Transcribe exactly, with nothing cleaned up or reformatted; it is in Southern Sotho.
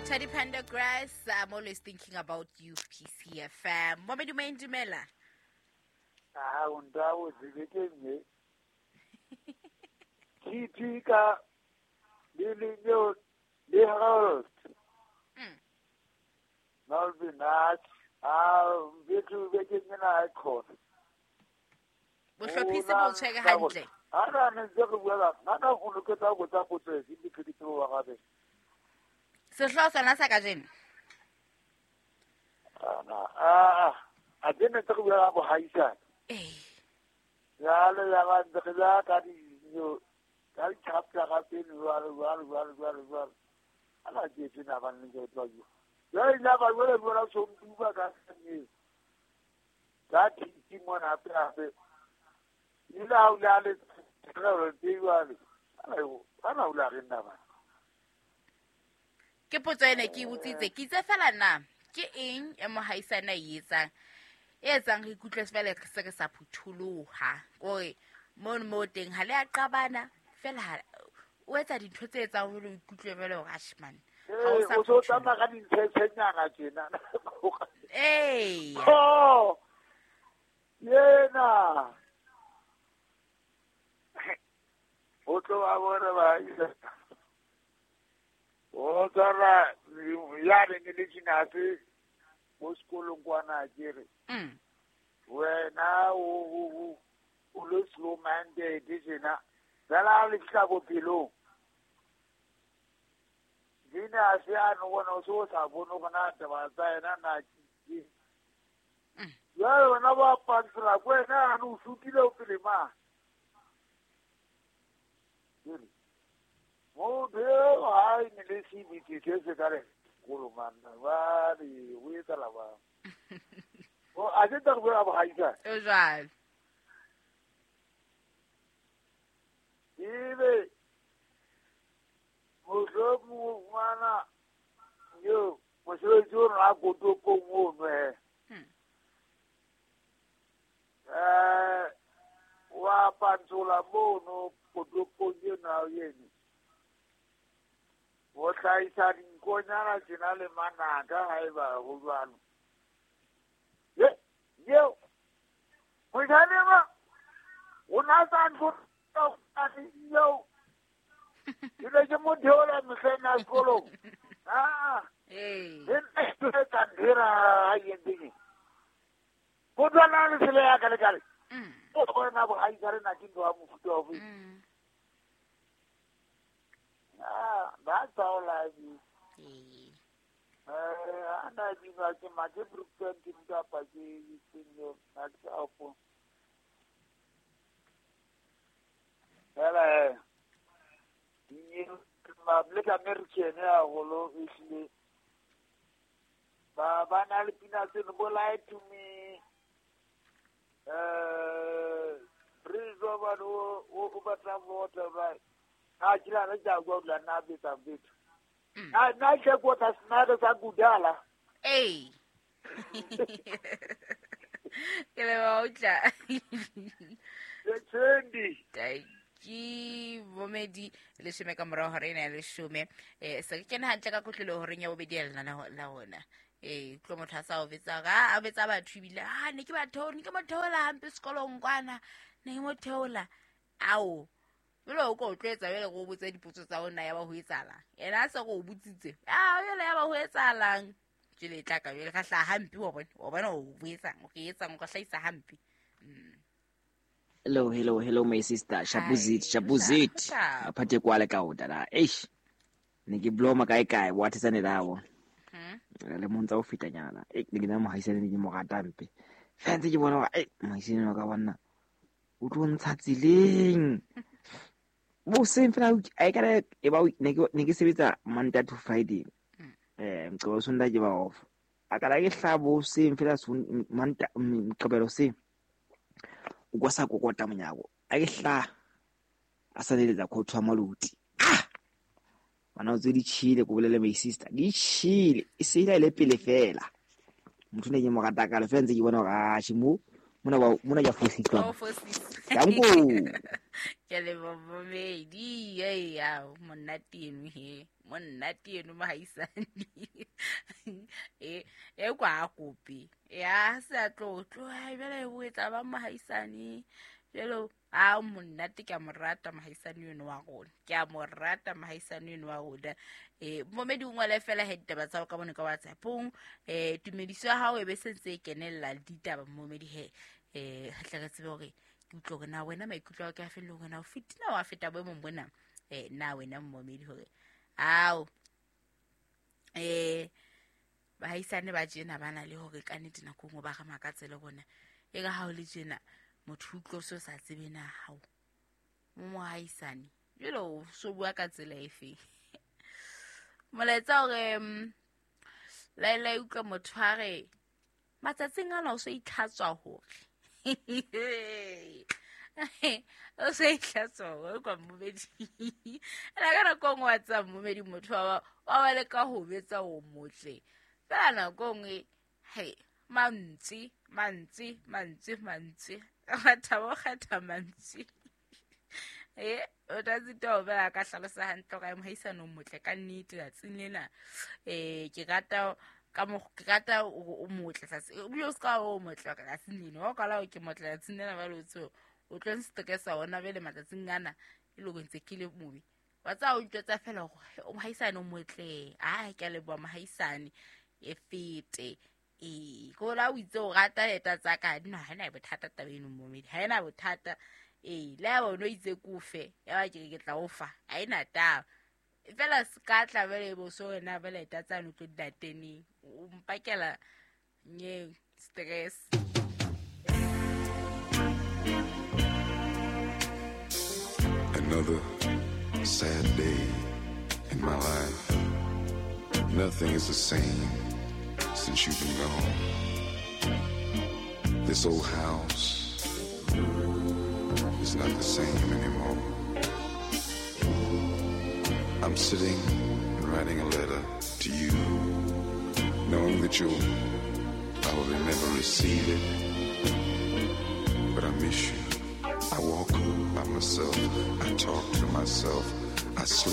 Teddy Pendergrass, I'm always thinking about you, P C F M. Mommy Dumain Dumela. Ah, undawo zibekenge. Titika lilinyo liharold. Mm. Nalbi nach. Ah, bethu bekenge na khona. Bohlophise bo tshwere hantle. Ana ne ntse re bua ka nna o loketsa go tsa potso e di pheditse wa gabe. Sehlooho sona sa kajeno. Ana a a dene tse re bua ka bohaisane. Eh. Ya le ya ba ntse re la ka di yo ka di chapter ga pele jwalo jwalo jwalo jwalo jwalo. Ana ke tsena ba nne ke tla yo. Ya ile ba jwale bua so mtuba ka sanye. Ka ti mona hape hape. Ile ha o le le re re jwale. Ana yo ana o la re nna ba. Ke potso ene ke botsitse ke itse fela na ke eng e mohaisana e etsang e etsang re ikutlwe fela re se re sa phutholoha kore mono mo teng ha le a qabana fela o etsa dintho tse etsang hore o ikutlwe fela hore ashman ha o sa o so tsamaya ka dintshenyana tjena eh oh yena o tlo ba bona ba o tsara ya re ne le tšinase mo sekolong kwana ke re mm wena o o le slow minded tjena fela le fihla bophelong dina se a no bona o so sa bone gona taba tsa yena na ke jwale wena ba pantsela ko wena a no sutile o pele ma motho eo ha e ne le sebete se se ka re sekolo manna ba re o etsala ba o a ke tla go bua bogaisane o jwalo ebe mohlomong o fumana yo mosebetsi o rona kotopong ono he um wa pantsola mono kotopong ena eno o hlahisa dinkonyana tjena le manaka haeba ho jwalo. Ye yeo mojane ma o na sa ntho eo ke ne ke mo theola mehleng ya sekolong. Ah ee le nna ke ndira ha yending motho a na le tsela ya ka le kale o bona bohaisane na ke ntho ya mofuta wa bo. Ah, that's how life is. Eh, ana di ba ke ma ke Brooklyn ke nka pa ke tsenyo na ke apo. Fela eh ma Black American ya holo ehlile ba ba na le pina tse no bo lie to me. Eh, bridge over o o batla water right. A kila na ja go la na beta beta. Na na ke go ta snada sa gudala. Ei. Ke le ba utla. Le tsendi. Ke bomedi leshome ka morao hore ena leshome eh se ke kena hantle ka kotlolo horeng ya bobedi ya lena la ona. Eh tlo motho a sa o betsa ga a betsa batho ebile ah ne ke ba theola ne ke mo theola hampe sekolong kwana ne ke mo theola ao jwale o ko tlo etsa jwale go botsa dipotso tsa ona ya ba ho etsahalang yena a se go botsitse ah jwale ya ba ho etsahalang jwale e tla ka jwale ka hlaha hampe wa bona wa bona o boetsang o ke etsang o ka hlahisa hampe. Hello, hello, hello my sister. Shabuzit, Shabuzit. Apate kwale ka o dada. Eish. Ne ke bloma kae kae wa thetsane lawo. Mhm. Le montsa o fita nyana. E ne ke na mohaisane ne ke mo rata mpe. Fela ntse ke bona hore eh mohaisane wa ka bona o tlo ntsha tseleng. Bo seng fela a e kare e ba ne ke ne ke sebetsa Monday to Friday. Eh mqobelo Sunday ke ba off. A kala ke hlabo seng fela Monday mqobelo seng. O kwa sa kokota monyako. A ke hla a sa leletsa khothu ya maluti. Ah! Bana o tse di chile ko bolele my sister. Di chile e se ile le pele fela. Motho ne ke mo rata ka le fela ntse ke bona hore ah mo mona ba mona ya fositswa. Oh fositswa. Danko. Ke le bomedi ya monate eno he monate eno mohaisane e e kwa kopi ya se tlo tlo bele o etsa ba mohaisane jelo a monate ke a morata mohaisane eno wa rona ke a morata mohaisane eno wa rona e momedi o ngwale fela he ditaba tsa ka bone ka WhatsApp-ong eh tumediso ya hao e be sentse e kenella ditaba momedi he eh tle re tsebe hore ke utlwe hore na wena maikutlo a ka felle hore na o fitina wa feta boemong bona eh na wena momedi hore ao eh bahaisane ba tjena bana le hore ka nnete nako nngwe ba re makatse le rona e ka ha o le tjena motho utlwe so sa tsebe na hao mo mohaisane jelo o so bua ka tsela efe molaetsa hore laela utlwe motho a re matsatsing ana o so itlhatswa hore o se itlhatswa hore kwa mmomedi ena ka nako nngwe wa tseba mmomedi motho wa wa leka ho betsa o motle fela nako nngwe he mantswe mantswe mantswe mantswe mathabo kgetha mantswe e o tla tsita o bela ka hlalosa hantle ka mohaisane o motle ka nnete tsatsing lena eh ke rata ka mo ke rata o motle tsatsi o ska o motle ka tsatsing lena o kala o ke motle tsatsing lena ba lo tseo o tlo nstressa ona bele matsatsing ana e le ntse ke le mobe wa tsa o ntjwetsa fela hore o mohaisane o motle a ke le bua mohaisane e fete e ko la o itse o rata leta tsa ka no ha ena bothata taba eno momedi ha ena bothata e le ba no itse kufe ya ba ke ke tla o fa ha ena taba fela ska tla bele bo so rena bele ta tsa no tlo dateni o mpakela nye stress. Another sad day in my life. Nothing is the same since you've been gone. This old house is not the same anymore. I'm sitting and writing a letter to you, knowing that you'll probably never receive it, but I miss you. I walk by myself, I talk to myself, I sleep